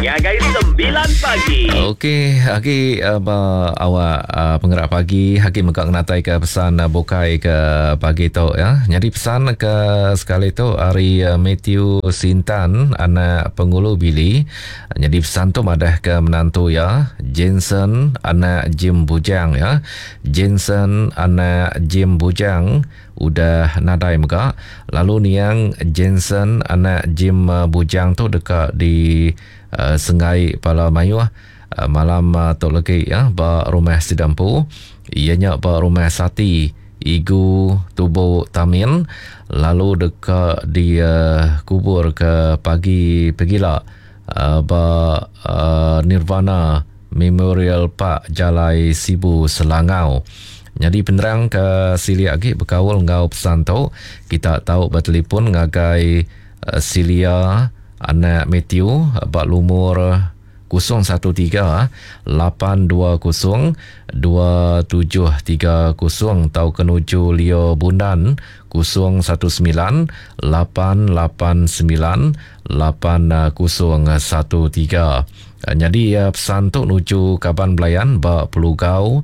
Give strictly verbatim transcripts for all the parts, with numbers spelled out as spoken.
Ngagai sembilan pagi. Okey, agi uh, ba awak uh, pengerak pagi, agi mega ngenatai ke pesan uh, bukai ke pagi tu ya. Jadi pesan ke sekali tu hari uh, Matthew Sintan anak Pengulu Billy. Jadi pesan tu madah ke menantu ya, Jensen anak Jim Bujang ya. Jensen anak Jim Bujang udah nadai mega. Lalu niang Jensen anak Jim Bujang tu dekat di uh, Sengai Pala Mayuh uh, malam uh, tu lagi ya ba rumah Sidampu, ianya ba rumah Sati Igu Tubu Tamin, lalu dekat di uh, kubur ke pagi pegila uh, ba uh, Nirvana Memorial Park Jalai Sibu Selangau. Jadi penerang ke silia lagi berkaul ngau pesan tu, kita tahu bertelefon ngagai uh, Silia anak Matthew bak lumur kosong satu tiga lapan dua kosong dua tujuh tiga kosong atau kenuju Leo Bundan kosong satu sembilan lapan lapan sembilan lapan kosong satu tiga. Jadi pesan tu nuju kaban belayan bak Pelugau,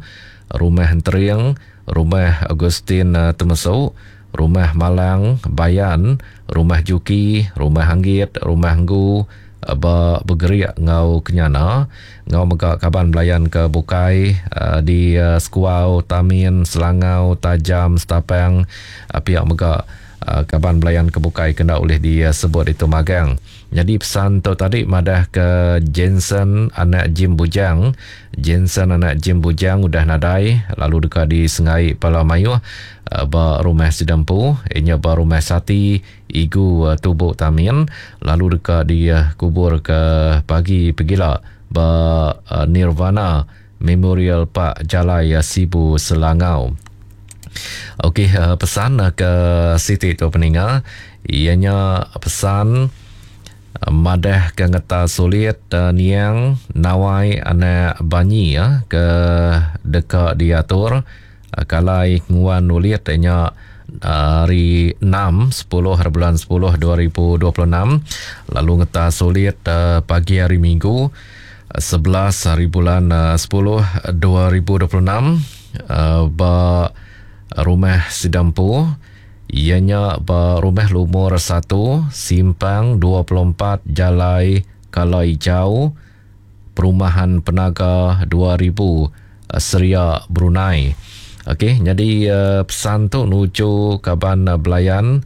Rumah Entering, Rumah Augustine Temesuk, Rumah Malang Bayan, Rumah Juki, Rumah Anggit, Rumah Nggu, ba Bergeriak ngau Kenyana, ngau mega kaban belayan ke Bukai uh, di uh, Sekuau, Tamin, Selangau, Tajam, Setapang, uh, pihak mega uh, kaban belayan ke Bukai kena oleh disebut itu magang. Jadi pesan tu tadi madah ke Jensen anak Jim Bujang. Jensen anak Jim Bujang udah nadai lalu dekat di Sengai Pala Mayuh ba rumah Sidampu, inya ba rumah Sati Igu Tubuk Tamin, lalu dekat di kubur ke pagi pegila ba Nirvana Memorial Park Jalai Sibu Selangau. Okey, pesan ke Siti tu peninga, ianya pesan madah ke ngeta sulit uh, niang nawai anak banyi ya ke dekat diatur uh, kalai nguan nulit nya hari enam sepuluh hari bulan sepuluh dua ribu dua puluh enam, lalu ngeta sulit uh, pagi hari Minggu sebelas hari bulan uh, sepuluh dua ribu dua puluh enam uh, ba rumah Sidampu, ianya ba rumah lumur satu simpang dua puluh empat Jalai Kalai Hijau, Perumahan Penaga dua ribu Seria Brunei. Okey, jadi uh, pesan tu nuju kaban uh, belayan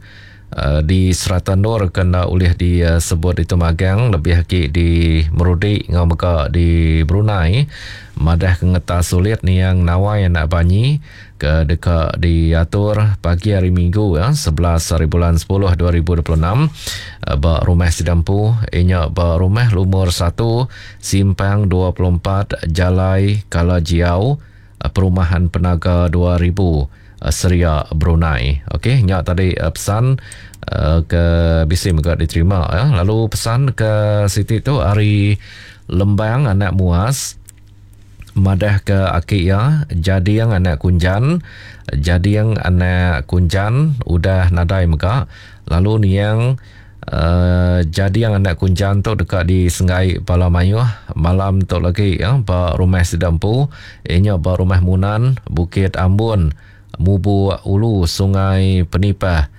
uh, di Serata Nur kena oleh disebut itu magang lebih lagi di Merudik ngau mega di Brunei. Madah kengeta sulit ni yang nawai anak banyi ke dekat diatur pagi hari Minggu ya sebelas hari bulan sepuluh dua ribu dua puluh enam ba rumah Sidampu, inya ba rumah lumur satu simpang dua puluh empat Jalai Kalajiau, Perumahan Penaga dua ribu Seria Brunei. Okey, nya tadi pesan uh, ke bisi mega diterima ya. Lalu pesan ke Siti tu hari Lembang anak Muas madah ke aki ya jadiang anak Kunjan, jadiang anak Kunjan udah nadai mega, lalu niang uh, jadiang anak Kunjan tu dekat di Sengai Pala Mayuh malam tu lagi ya ba rumah Sidampu, inya ba rumah Munan Bukit Ambun Mubu Ulu Sungai Penipah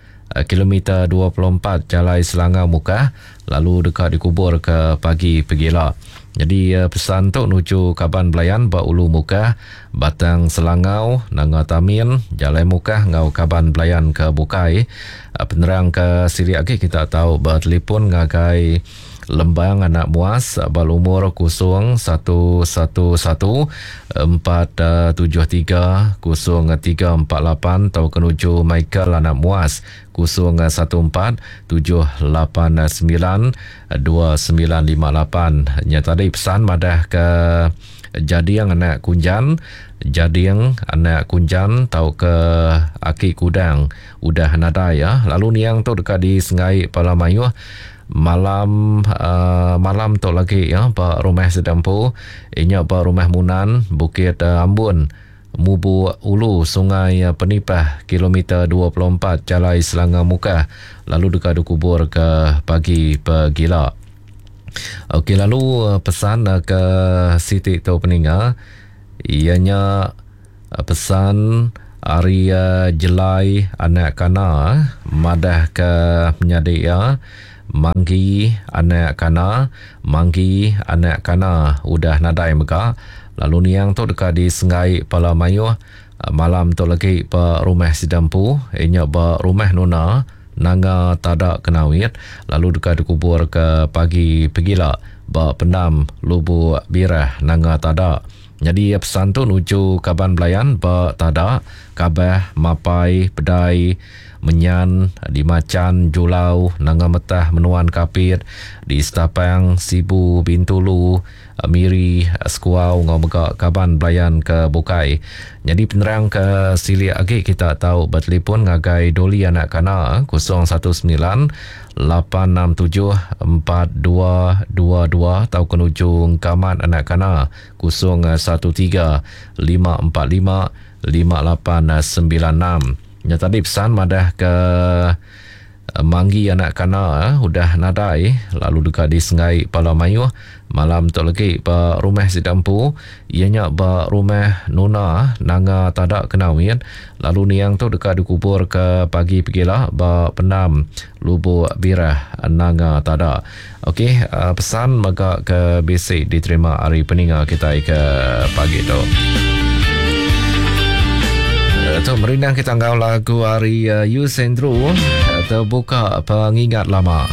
kilometer dua puluh empat Jalai Selangau Mukah, lalu dekat dikubur ke pagi pegila. Jadi pesan tu nuju kaban belayan ba Ulu Mukah, Batang Selangau, Nanga Tamin, Jalai Mukah ngau kaban belayan ke Bukai. Penerang ke siri lagi kita tahu bertelefon ngagai Lembang anak Muas balumur kosong satu satu satu empat tujuh tiga kosong tiga empat lapan atau kenuju Michael anak Muas kosong satu empat tujuh lapan sembilan dua sembilan lima lapan. Nya tadi pesan madah ke jadiang anak Kunjan, jadiang anak Kunjan tau ke aki Kudang udah nadai ya. Lalu niang tu dekat di Sengai Pala Mayuh malam uh, malam tu lagi ya ba rumah Sedampu, inya ba rumah Munan Bukit uh, Ambun Mubu Ulu Sungai Penipah kilometer dua puluh empat Jalai Selangau Mukah, lalu dekat dikubur ke pagi pegila. Okey, lalu pesan ke siti tu peninga ianya pesan ari Jelai anak Kana madah ke menyadi iya Manggi anak Kana, Manggi anak Kana udah nadai mega, lalu niang tu deka disenggai pala mayuh malam tu lagi ba rumah sida empu inya ba rumah Nuna Nanga Tada Kenawit, lalu deka dikubur ke pagi pegila ba pendam Lubuk Birah Nanga Tada. Jadi pesan tu nuju kaban belayan ba Tada, Kabah, Mapai, Pedai, Menyan, di Macan, Julau, Nanga Metah, Menuan Kapit, di Setapang, Sibu, Bintulu, Miri, Sekuau ngau mega kaban belayan ke bukai. Jadi penerang ke silik agi kita tahu bertelefon ngagai Doli anak Kana kosong satu sembilan lapan enam tujuh empat dua dua dua atau ke nuju Kamat anak Kana kosong satu tiga lima empat lima lima lapan sembilan enam. Ya tadi pesan madah ke Manggi anak Kana udah nadai lalu dekat di Sengai Pala Mayuh malam tu lagi ba rumah sida empu ianya ba rumah Nuna Nanga Tada Kenawit, lalu niang tu dekat dikubur ke pagi pegila ba pendam Lubuk Birah Nanga Tada. Okey, pesan mega ke bisi diterima hari peninga kita ke pagi tu. Tu merindang kita ngau lagu hari uh, Yus Andrew terbuka pengingat lama.